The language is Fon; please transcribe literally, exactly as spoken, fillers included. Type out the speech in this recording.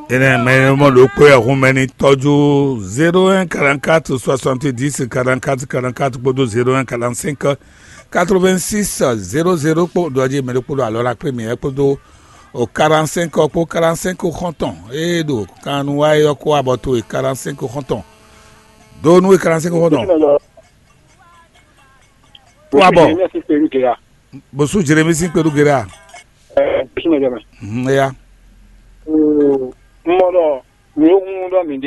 Énɛ́ mɛ e mɔ ɖokpó wɛ hun mɛ ní tɔ́jú zéro un quarante-quatre soixante-dix quarante-quatre quarante-quatre kpódó zéro un quarante-cinq quatre-vingt-six zéro zéro kpó ɖɔ jí mɛ ɖokpó ɖo alɔ la kplé mǐ wɛ kpódó o quarante-cinq kpó quarante-cinq xɔ́ntɔn e ɖo kannu wa é ɔ́ kó abɔ towe quarante-cinq xɔ́ntɔn. Ɖó nú e quarante-cinq xɔ́ntɔn. Kó abɔ. Bosú Jeremi sín kpeɖú géré a? Ɛɛ, bosú mɛ jɛ mɛ. Mhm, eya. Mɔ ɖɔ mi ó hun ɖɔ mi ɖe